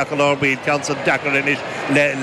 I lár baill, ceann san deacair anois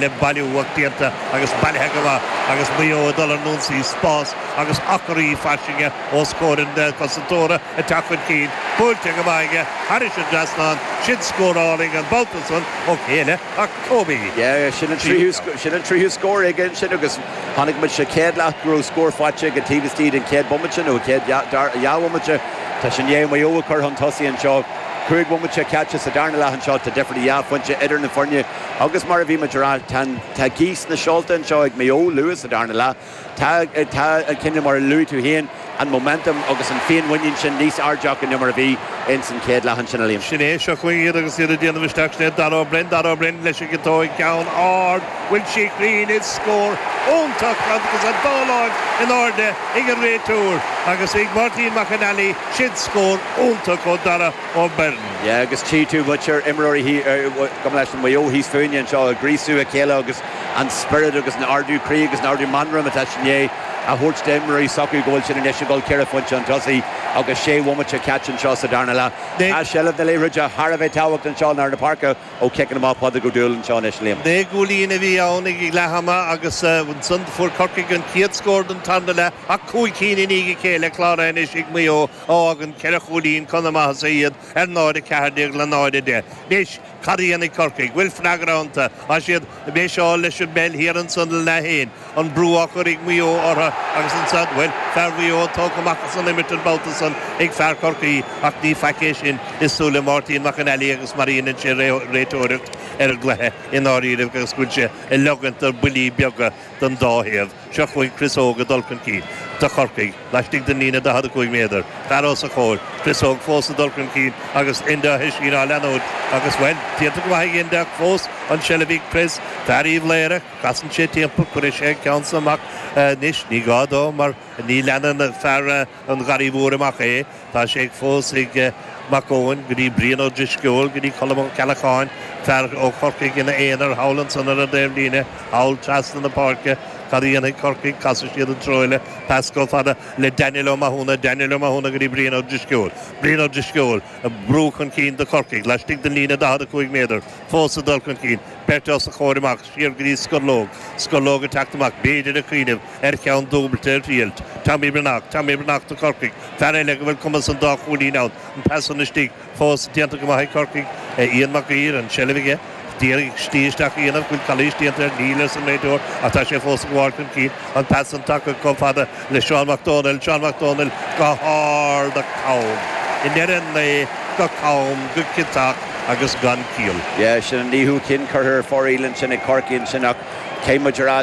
le bailiú ach déanta agus bailithe go maith agus Maigh Eo ag dul ar an ionsaí, spás agus acraí fairsinge os comhair an chosantóra ag teacht chun cinn, buailte go maith aige thairis an dtrasnán, sin scór álainn an babhta san ó cé eile ach Kobe. Yeah, sin an tríú sin an tríú scór aige ansin agus chonaic muid sa chéad leath go raibh scór faighte aige taobh istigh den chéad bhomaite nó chéad dhá bhomaite. Tá sé i ndiaidh Maigh Eo a chur chun tosaigh anseo. 5 bhomaite caite sa darna leath anseo, tá difear de dhá phointe idir na foirne agus mar a bhí muid a rá, tá tá gaoth sna seolta anseo ag Maigh Eo luath sa darna leath. Tá tá an cineál mar a luaigh tú féin, an momentum agus an féinmhuinín sin níos airde acu ná mar a bhí ins an chéad leath ansin, a Liam. Sin é, seo chugainn iad agus iad ag déanamh isteach, sin é Dara Ó Broin, Dara Ó Broin leis an gciotóig, ceann ard, bhfuil sí cruinn, is scór iontach agus an dá láimh in airde ag an réiteoir agus ag Máirtín Mac an Fhailigh, sin scór iontach ó Dara Ó Broin. Yeah agus tchí tú muintir imreoirí gabh mo leithscéal Mhaigh Eo thíos fúinne anseo ag gríosú a chéile agus an spiorad agus an ardú croí agus an ardú meanman atá siad i ndiaidh a thabhairt d'imreoirí s'acu go bhfuil siad anois ag dul ceithre phointe chun tosaigh agus sé bhomaite caite anseo sa darna leath. Tá seilbh na liathróide thar a bheith tábhachtach anseo i lár na páirce ó chiceanna amach Pádraig Ó Dúill anseo anois, Liam. Naoi gcúilín a bhí ann ag leath ama agus ansan fuair Corcaigh an chéad scór den tarna leath ach cúig cinn i ndiaidh a chéile cláraithe anois ag Maigh Eo a fhágann ceithre chúilín chun na maitheasa iad ar 0-14 le 0-10. Anois, cad a dhéanfaidh Corcaigh? Bhfuil freagra iontu? Tá siad ag méiseáil leis an bpeil thiar ansan le leath féin. An brú á chur ag Maigh Eo orthu agus ansan, bhuel, fear Mhaigh Eo tógtha amach as an imirt an babhta san ag fear Chorcaí ach ní faic é sin i súile Mháirtín Mac an Fhailigh agus mar a dhéanann sé réiteoireacht ar an gcluiche i ndáiríribh agus go bhfuil sé ag leogaint do bhuillí beaga don dá thaobh. Seo chugainn Chris Óg ag dul chun cinn do Chorcaigh laistigh den líne 45 méadar. Fear os a chomhair, Chris Óg fós ag dul chun cinn agus Enda Oisín á leanúint agus, bhuel, déanta go maith ag Enda ach fós an tseilbh ag Chris, fear Uíbh Laoghaire. Casann sé timpeall, cuirfidh sé an ceann san amach anois. Ní gá dó mar ní leanann fear an Gharraí Mhóir amach é. Tá sé fós ag Mac Eoin go dtí Brian Ó Drisceoil, go dtí Colm Ó Ceallacháin, fear ó Chorcaigh ina aonar thall ansan ar an dtaobhlíne, thall trasna na páirce. Cad a dhéanfaidh Corcaigh? Casfaidh siad an treo eile. Pas chomh fada le Daniel Ó Mathúna, Daniel Ó Mathúna go dtí Brian Ó Drisceoil. Brian Ó Drisceoil ag brú chun cinn do Chorcaigh laistigh den líne 45 méadar. Fós ag dul chun cinn. Beirt os a chomhair amach, siar go dtí Scorlóg. Scorlóg ag teacht amach, b'fhéidir ag cuimhneamh ar cheann dúbailte a thriailt. Tommy Breathnach, Tommy Breathnach do Chorcaigh, fear eile go bhfuil cumas an dá chúilín ann. An pas san istigh fós déanta go maith ag Corcaigh. Ian Mac Uidhir, an tseilbh aige. D'iarraidh slí isteach a dhéanamh, bhfuil calaois déanta air? Níl, arsa an réiteoir, ach tá sé fós ag gabháil chun cinn. An pas san tagtha chomh fada le Seán Mac Dónaill, Seán Mac Dónaill go hard ach cam. I ndeireadh an lae, go cam, go ciotach agus gan ciall. Yeah, sin an naoú ceann curtha ar fóraoil ansin ag Corcaigh ansin ach caithfidh muid a rá,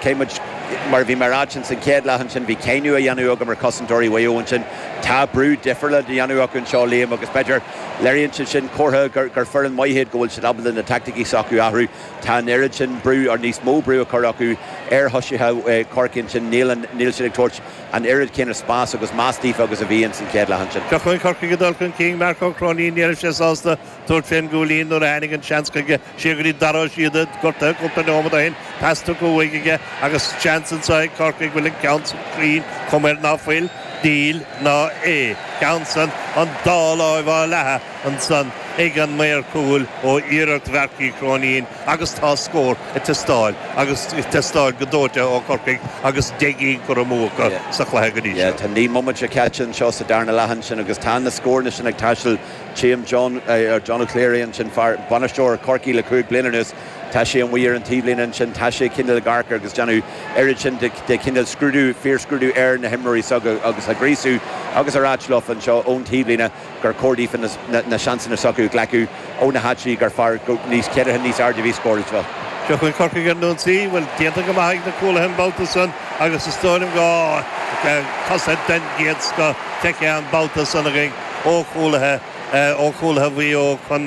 caithfidh muid, mar a bhí mé a ráit ins an chéad leath ansin, bhí cáineadh á dhéanamh agam ar chosantóirí Mhaigh Eo ansin. Tá brú difriúil á dhéanamh acu anseo, Liam, agus b'fhéidir, léiríonn sé sin comhartha gur, gur foireann maith iad, go bhfuil siad ábalta na teaicticí s'acu a athrú. Tá an oiread sin brú, or níos mó brú á chur acu ar thosaithe Chorcaí ansin, níl an, níl siad ag tabhairt an oiread céanna spás agus meas daofa agus a bhí ins an chéad leath ansin. Seo chugainn Corcaigh ag dul chun cinn, Marc Ó Cróinín, ní raibh sé sásta tabhairt fén gcúilín nuair a tháinig an seans chuige, siar go dtí Dara Ó Síoda, gortaithe cúpla nóiméad ó shin, pas tugtha uaidh aige agus seans anseo ag Corcaigh, bhfuil an ceann san cruinn, cuma air ná fuil, níl ná é, ceann san an dá láimh á leathadh ansan ag an maor cúil ó iarracht Mharc Uí Chróinín agus tá scór ag teastáil agus ag teastáil go dóite ó Chorcaigh agus 10 gcinn curtha amú acu sa chluiche go dtí seo. Tá 9 mbomaite caite anseo sa darna leath ansin agus tá na scóranna sin ag taisteal. Tchím John, John O'Cleary ansin, fear, bainisteoir Chorcaí le 5 bliana anuas, tá sé amuigh ar an taobhlíne ansin, tá sé cineál ag amharc agus déanamh oiread sin de chineál scrúdú, fíorscrúdú ar na himreoirí s'acu agus á gríosú agus á ráit leofa anseo ón taobhlíne. gur chóir daofa na seansanna s'acu a ghlacadh ó na háiteanna gur fearr, níos céadrogha níos airde a bhí scóráilte. Seo chugainn Corcaigh ar an ionsaí. Bhuel, déanta go maith ag na cúlaithe an babhta san agus is dóigh liom go cosaint den gcéad scoth feicthe an babhta san againn ó chúlaithe ó chúlaithe Mhaigh Eo chun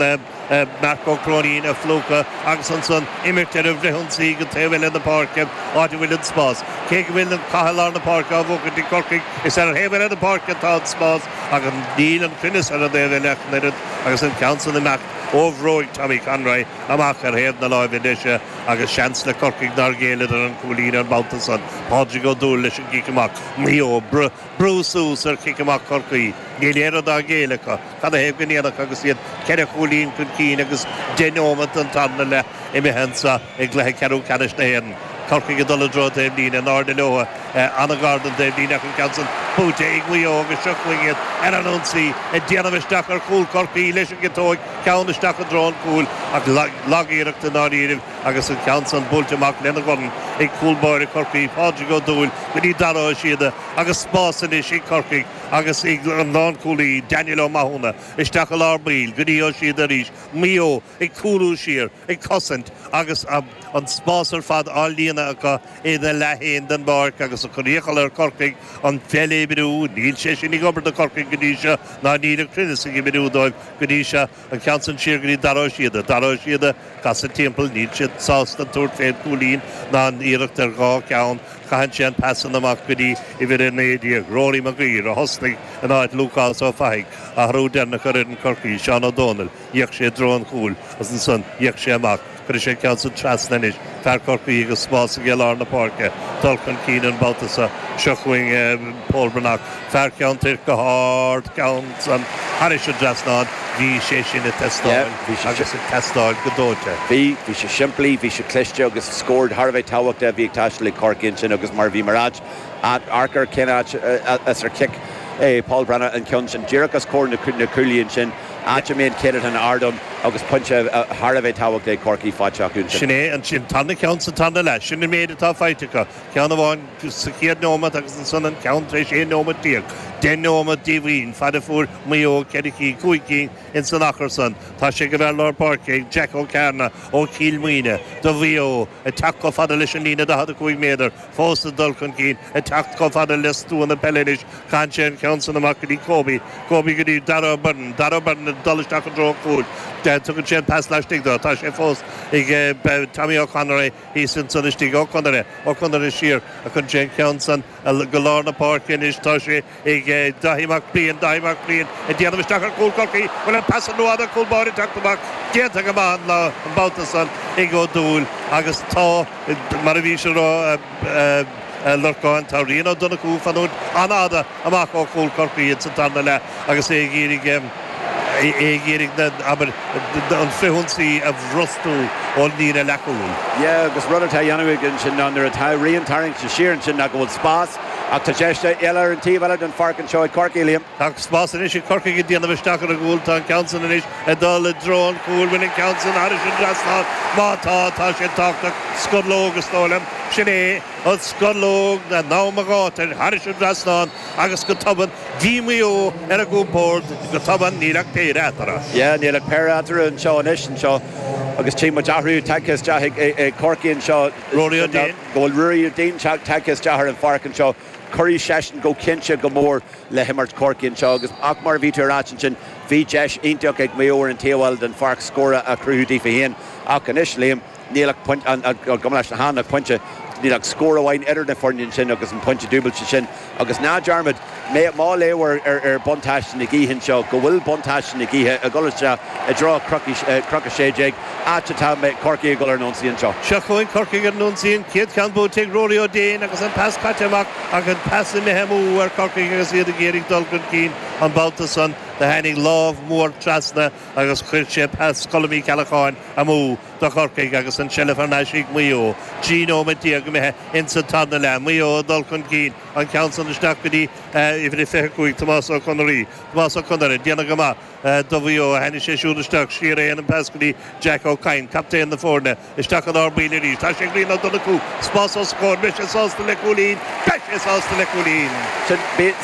Marc Ó Cróinín a phlúchadh agus ansan imirt ar an bhfrithionsaí go taobh eile na páirce, áit a bhfuil an spás. Cé go bhfuil an cath i lár na páirce á bhuachaint ag Corcaigh, is ar an thaobh eile den pháirc atá an spás ach níl an cruinneas ar an dtaobh eile ach an oiread agus an ceann san imeacht ó bhróig Tommy Conroy amach ar thaobh na láimhe deise agus seans le Corcaigh nár ghéilleadar an cúilín an babhta san. Pádraig Ó Dúill leis an gcic amach. Maigh Eo ag brú suas ar chic amach Chorcaí. Níl aon rud á ghéilleadh acu. Cad a thaobh go ndéanfadh agus iad ceithre chúilín chun cinn agus deich neomat den tarna leath imithe anseo i gcluiche ceathrú ceannais na hÉireann. Corcaigh ag dul i dtreo taobhlíne, in airde leo, an-ghar don taobhlíne ach an ceann san buaite ag Maigh Eo agus seo chugainn iad ar an ionsaí ag déanamh isteach ar chúl Chorcaí leis an gciotóig, ceann isteach i dtreo an chúil ach lag-iarracht i ndáiríribh agus an ceann san buailte amach lena dhorn ag cúl báire Chorcaí, Pádraig Ó Dúill, go dtí Dara Ó Síoda agus spás anois ag Corcaigh agus ag an lánchúlaí Daniel Ó Mathúna isteach i lár baill go dtí Ó Síoda arís, Maigh Eo ag cúlú siar, ag cosaint agus an spás ar fad á líonadh acu ina leath féin den bpáirc agus ag cur iachall ar Chorcaigh an pheil a oibriú. Níl sé sin ag obair do Chorcaigh go dtí seo ná níl an cruinneas ag oibriú dóibh go dtí seo. An ceann san siar go dtí Dara Ó Síoda. Dara Ó Síoda, casadh timpeall, níl siad sásta tabhairt fén gcúilín ná an iarracht ar dhá cheann. Caitheann sé an pas san amach go dtí uimhir 19, Rory Maguire, a thosnaigh in áit Lúcás Ó Fathaigh. Athrú deireanach ar fhoireann Chorcaí, Seán Ó Dónaill. D'fhéach sé i dtreo an chúil agus ansan d'fhéach sé amach. Cuirfidh sé an ceann san trasna anois. Fear Chorcaí agus spás aige i lár na páirce. Dul chun cinn an babhta seo. Seo chugainn Pól Breathnach. Fear Cheann Toirc go hard ceann san thairis an dtrasnán. Bhí sé sin ag teastáil agus ag teastáil go dóite. Bhí. Bhí sé simplí, bhí sé cliste agus scór thar a bheith tábhachtach a bhí ag taisteal ag Corcaigh ansin agus mar a bhí mar áit, amharc ar cén áit as ar chic Paul Breathnach an ceann sin díreach os comhair na cúlaí ansin. áit a mbíonn céatadán ard ann agus pointe thar a bheith tábhachtach ag Corcaigh faighte acu ansin. Sin é an tarna ceann sa tarna leath. Sin an méid atá faighte acu. Ceann amháin sa chéad neomat agus ansan an ceann tar éis 11 nóimeat. Deich neomat díomhaoin, fad a fuair Maigh Eo ceithre cinn, cúig cinn ins an achar san. Tá sé ag an bhfear lár páirce, ag Jack Ó Cearna ó Chill Mhuine do Mhaigh Eo, ag teacht chomh fada leis an líne 45 méadar. Fós ag dul chun cinn, ag teacht chomh fada le stua na peile anois. Caitheann sé an ceann san amach go dtí Kobe. Kobe go dtí Darragh Byrne. Darragh Byrne ag dul isteach i dtreo an chúil. Tugann sé an pas laistigh dó. Tá sé fós ag Tommy Ó Conaire thíos ansan istigh. Ó Conaire. Ó Conaire siar. Cuireann sé an ceann san go lár na páirce anois. Tá sé ag Dáithí Mac Briain. Dáithí Mac Briain ag déanamh isteach ar chúl Chorcaí. Bhfuil an pas an rófhada? Cúl báire ag teacht amach. Déanta go maith an babhta san ag Ó Dúill agus tá, mar a bhís a rá, a Lorcáin, tá Rian Ó Donnchú ag fanúint an-fhada amach ó chúl Chorcaí ins an tarna leath agus é ag iarraidh é ag iarraidh na, abair, an frithionsaí a bhrostú ón líne leathchúil. Yeah, agus rud atá a dhéanamh aige ansin ná nuair atá Rian tarraingte siar ansin ná go bhfuil spás ach tá deis eile ar an taobh eile den pháirc anseo ag Corcaigh, Liam. Tá spás anois ag Corcaigh ag déanamh isteach ar an gcúl. Tá an ceann san anois ag dul i dtreo an chúil. Bhfuil an ceann san thairis an dtrasnán? Má tá, tá sé tábhachtach. Scorlóg, is dóigh liom. Sin é an scorlóg in am a ghátair thairis an dtrasnán agus go tobann bhí Maigh Eo ar a gcompord. Go tobann níl ach péire eatarthu. Yeah, níl ach péire eatarthu anseo anois anseo agus tchí muid athrú tagtha isteach ag Corcaigh anseo. Rory Ó Duinn. Go bhfuil Ruairí Ó Duinn tagtha isteach ar an pháirc anseo. Cuirfidh seisean go cinnte go mór le himirt Chorcaí anseo agus ach mar a bhí tú a ráit ansin bhí deis iontach ag Maigh Eo ar an taobh eile den pháirc scór a chruthú daofa féin ach anois Liam níl ach pointe gabh mo leithscéal ach pointe níl ach scór amháin idir na foirne ansin agus an pointe dúbailte sin agus ná dearmad má léamh ar ar buntáiste na gaoithe anseo go bhfuil buntáiste na gaoithe ag dul isteach i dtreo Chnoc 16 áit atá Corcaigh ag dul ar an ionsaí anseo. Seo chugainn Corcaigh ar an ionsaí, an chéad cheann buaite ag Rory Ó Déin agus an pas caite amach ach an pas imithe amú ar Chorcaigh agus iad ag iarraidh dul chun cinn an babhta san. Do tháinig lámh mhór trasna agus chuir sé pas Cholm Uí Cheallacháin amú do Chorcaigh agus an tseilbh thar n-ais ag Maigh Eo. 13 nóiméad imithe ins an tarna leath. Maigh Eo ag dul chun cinn, an ceann san isteach go dtí uimhir a 25, Tomás Ó Conairí. Tomás Ó Conaire, déanamh go maith. Do Mhaigh Eo. Tháinig sé siúd isteach siar é an pas go dtí Jack Ó Cadhain, captaen na foirne, isteach i lár baill arís. Tá sé ag Rian Ó Donnchú. Spás os a chomhair. Beidh sé sásta le cúilín. Beidh sé sásta le cúilín. Sin,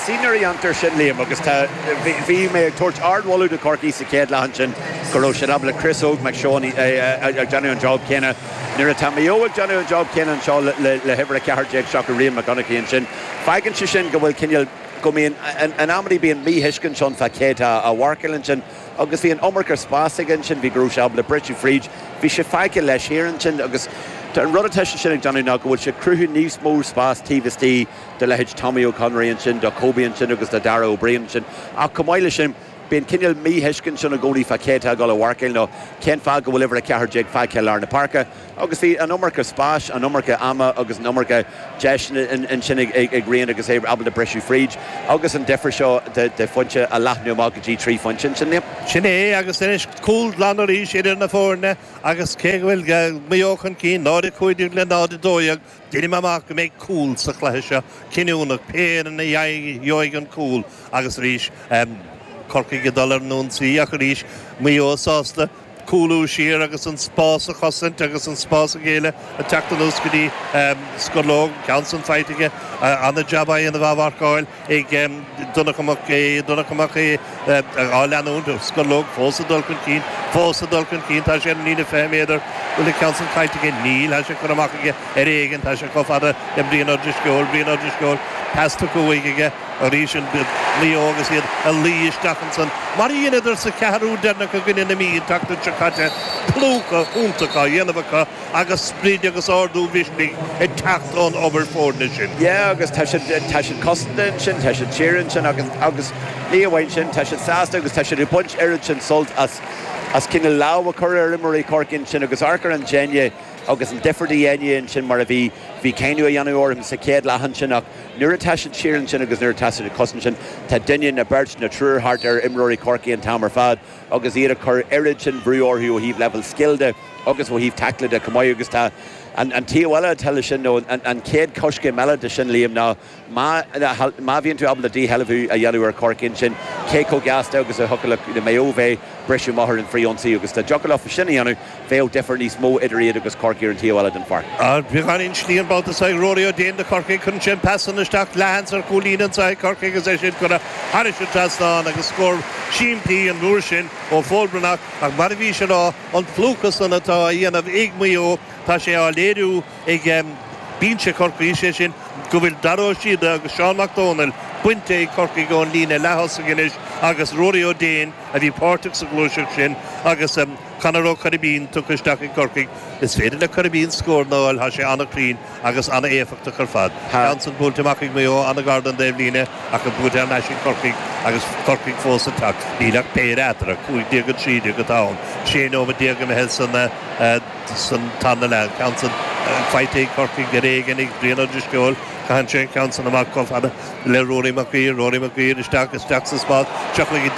see nuair a dhéantar sin, Liam, agus tá, bhí, bhí mé ag tabhairt ardmholadh do Chorcaigh sa chéad leath ansin go raibh siad ábalta Chris Óg McShane ag déanamh an job céanna. Nuair atá Maigh Eo ag déanamh an job céanna anseo le, le, le huimhir 14 seachas Rian Mac Donnchaidh ansin, fágann sé sin go bhfuil cineál, go mbíonn, in amannaí bíonn míthuiscint ann fá cé atá á mharcáil ansin agus bhí an iomarca spás aige ansin, bhí go raibh sé ábalta briseadh fríd, bhí sé fágtha leis thiar ansin agus An rud atá sé sin ag déanamh ná go bhfuil sé ag cruthú níos mó spás taobh istigh do leithéid Tommy Ó Conraoi ansin, do Kobe ansin agus do Dara Ó Briain ansin. Ach chomh maith leis sin, bíonn cineál míthuiscint ann i gcónaí fá cé atá ag dul a mharcáil nó cén fáth go bhfuil uimhir 14 fágtha i lár na páirce. Agus bhí an iomarca spáis, an iomarca ama agus an iomarca deiseanna ansin ag Rian agus é ábalta briseadh fríd agus an difear seo de phointe a leathnú amach go dtí 3 phointe ansin. Sin é agus anois cúl glan arís idir na foirne agus cé go bhfuil Maigh Eo chun cinn, 0-15 le 0-12, deinim amach go mbeidh cúl sa chluiche seo cinniúnach, pé fhoireann a gheobhaidh an cúl agus arís Corcaigh ag dul ar an ionsaí ach arís Maigh Eo sásta cúlú siar agus an spás a chosaint agus an spás a ghéilleadh ag teacht anuas go dtí Scorlóg, ceann san faighte aige, ana-jab á dhéanamh á mharcáil ag Donncha Mac Aodha, Donncha Mac Aodha á leanúint, Scorlóg fós ag dul chun cinn, fós ag dul chun cinn, tá sé ar an líne 20 méadar, bhfuil an ceann san caillte aige? Níl, tá sé curtha amach aige ar éigean, tá sé chomh fada le Brian Ó Drisceoil, Brian Ó Drisceoil, pas tugtha uaidh aige. Arís an Maigh Eo agus iad ag luí isteach ansan, mar a dheineadar sa cheathrú deireanach i gcoinne na Mí an tseachtain seo caite, plúchadh iontach á dhéanamh acu agus sprid agus ardú mhisnigh ag teacht ón obair foirne sin. Yeah agus tá siad, tá siad cosanta ansin, tá siad siar ansin agus, agus ní amháin sin, tá siad sásta agus tá siad ag baint oiread sin sult as, as cineál lámh a chur ar imreoirí Chorcaí ansin agus amharc ar an déine agus an difear de dhéine ansin mar a bhí, bhí cáineadh á dhéanamh orthu sa chéad leath ansin ach Nuair atá siad siar ansin agus nuair atá siad ag cosaint ansin, tá duine nó beirt nó triúr thart ar imreoirí Chorcaí an t-am ar fad agus iad ag cur oiread sin brú orthu ó thaobh leibhéal scil de agus ó thaobh taicle de chomh maith agus tá an taobh eile atá leis sin nó an chéad choiscéim eile de sin, Liam, ná má má bhíonn tú ábalta díshealbhú a dhéanamh ar Chorcaigh ansin, cé chomh gasta agus a thiocfadh le Maigh Eo bheith briseadh amach ar an frith-ionsaí agus dá dtiocfadh leofa sin a dhéanamh, Bheadh difear níos mó idir iad agus Corcaigh ar an taobh eile den pháirc. Beagáinín slí an babhta seo ag Rory Ó Déin do Chorcaigh. Cuireann sé an pas san isteach. Leathsheans ar chúl líne anseo ag Corcaigh agus é sin curtha thairis an trasnán agus scór simplí an uair sin ó Phól Breathnach ach mar a bhís a rá, an plúchadh san atá á dhéanamh ag Maigh Eo, tá sé á léiriú ag binse Chorcaí, sé sin go bhfuil Dara Ó Síoda agus Seán Mac Dónaill bainte ag Corcaigh ón líne leath-thosaigh anois agus Ruairí Ó Déin a bhí páirteach sa ghluaiseacht sin agus Conor Ó Coiribín tugtha isteach ag Corcaigh. Is féidir le Coiribín scór a fháil, tá sé an-chruinn agus an-éifeachtach ar fad. Ceann san buailte amach ag Maigh Eo, an-ghar don dtaobhlíne ach buailte thar n-ais ag Corcaigh agus Corcaigh fós ag teacht. Níl ach péire eatarthu, 15-13 atá ann. 16 nóiméad imithe san tarna leath. An ceann san faighte ag Corcaigh ar éigean ag Brian Ó Drisceoil. Caitheann sé an ceann san amach chomh fada le Rory Mac Guidhir. Rory Mac Guidhir isteach, isteach sa spás. Seo chuige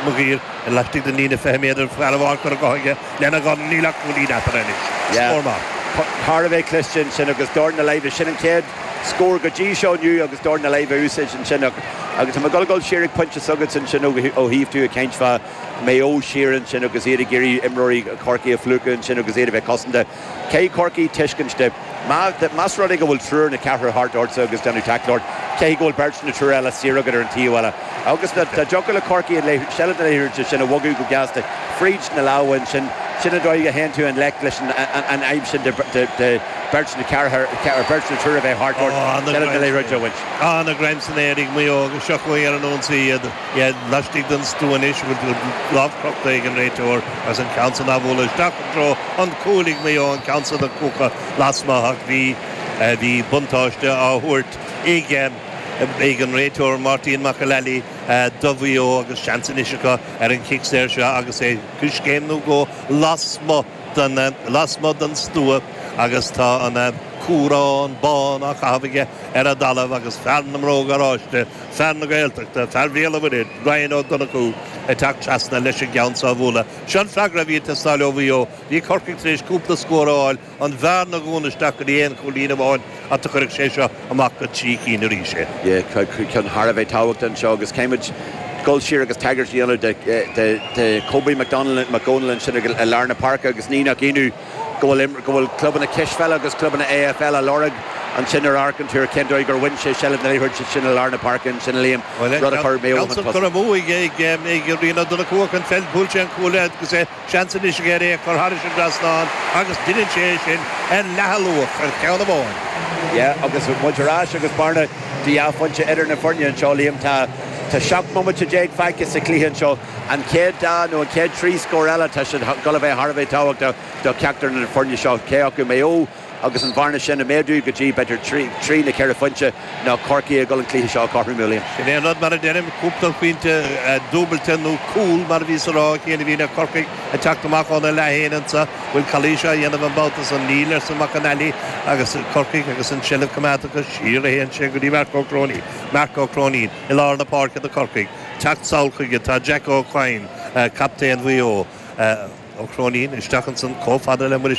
Mac Guidhir. Laistigh den líne 20 méadar, fear amháin curtha dhe aige lena dhorn, níl ach cúilín eatarthu anois. Scór maith. Thar a bheith cliste ansin agus dorn na láimhe. Sin an chéad scór go dtí seo inniu agus dorn na láimhe a úsáid ansin agus tá mé ag dul a dhul siar ag pointe s'agatsa ansin ó thaobh tú ag caint fá Maigh Eo siar ansin agus iad ag iarraidh imreoirí Chorcaí a phlúchadh ansin agus iad a bheith cosanta. Caithfidh Corcaigh tuiscint de, más rud é go bhfuil triúr nó ceathrar thart ortsa agus déanamh tackle ort, caithfidh go bhfuil beirt nó triúr eile saor agat ar an taobh eile. Agus dá dtiocfadh le Corcaigh an seilbh na liathróide sin a bhogadh go gasta fríd na lámha ansin, sin an dóigh a théann tú i ngleic leis an fhadhb sin de beirt nó ceathrar, beirt nó triúr a bheith thart ort, seilbh na liathróide a bhaint. Ana-ghreim san aer ag Maigh Eo agus seo chugainn ar an ionsaí iad. Iad laistigh den stua anois, a bhfuil lámh crochta ag an réiteoir agus an ceann san á bhualadh isteach i dtreo an chúil ag Maigh Eo, an ceann san ag cuachadh lasmuigh ach bhí bhí buntáiste á thabhairt ag ag an réiteoir Máirtín Mac Fhlannaigh do Mhaigh Eo agus seans anois acu ar an chic saor seo agus é coiscéim nó dhó lasmuigh den lasmuigh den stua agus tá an cúrán bán á chaitheamh aige ar an dtalamh agus fear na mbróg oráiste Fear na Gaeltachta, fear Bhéal an Mhuirthead, Ryan Ó Donnchú, ag teacht trasna leis an gceann seo a bhualadh. Seo an freagra a bhí ag teastáil ó Mhaigh Eo. Bhí Corcaigh tar éis cúpla scór a fháil, an bhearna a dhúnadh isteach go dtí aon chúilín amháin ach do chuirfeadh sé seo amach go 3 cinn arís é. Ceann thar a bheith tábhachtach anseo agus caithfimid dul siar agus tagairt a dhéanamh de Kobe McDonald, McDonald ansin i lár na páirce agus ní nach ionadh go bhfuil go bhfuil clubanna cispheile agus clubanna AFL á lorg ansin ar amharcann tú ar cén dóigh gur bhain sé seilbh na liathróide sin i lár na páirce ansin a Liam, rud a chuir Maigh Eo chun tosaigh. Curtha amú ag ag Rian Ó Donnchú ach an pheil, bhuail sé an cuaille agus é seans anois aige ar é a chur thairis an dtrasnán agus deineann sé é sin ar leath a luach ar cheann amháin. Yeah agus muid ar ais agus bearna de dhá phointe idir na foirne anseo Liam tá tá 17 bomaite fágtha sa chluiche anseo. An chéad dá nó an chéad trí scór eile, tá siad ag dul a bheith thar a bheith tábhachtach do cheachtar de na foirne seo, cé acu Maigh Eo agus an bhearna sin a mhéadú go dtí b'fhéidir 3 nó 4 phointe nó Corcaigh ag dul an cluiche seo a chothromú, Liam. Sin é an rud, mar a deirim, cúpla pointe dúbailte nó cúl mar a bhíos a rá, a Chian, a bhíonn ag Corcaigh ag teacht amach óna leath féin anso. Bhfuil calaois á dhéanamh an babhta san? Níl, arsa Mac an Fhailigh agus Corcaigh agus an tseilbh coimeádta acu. Siar a théann sé go dtí Marc Ó Cróinín. Marc Ó Cróinín i lár na páirce do Chorcaigh. Teacht sall chuige tá Jack Ó Coinn, captaen Mhaigh Eo. Ó Cróinín isteach ansan chomh fada le Muiris Ó.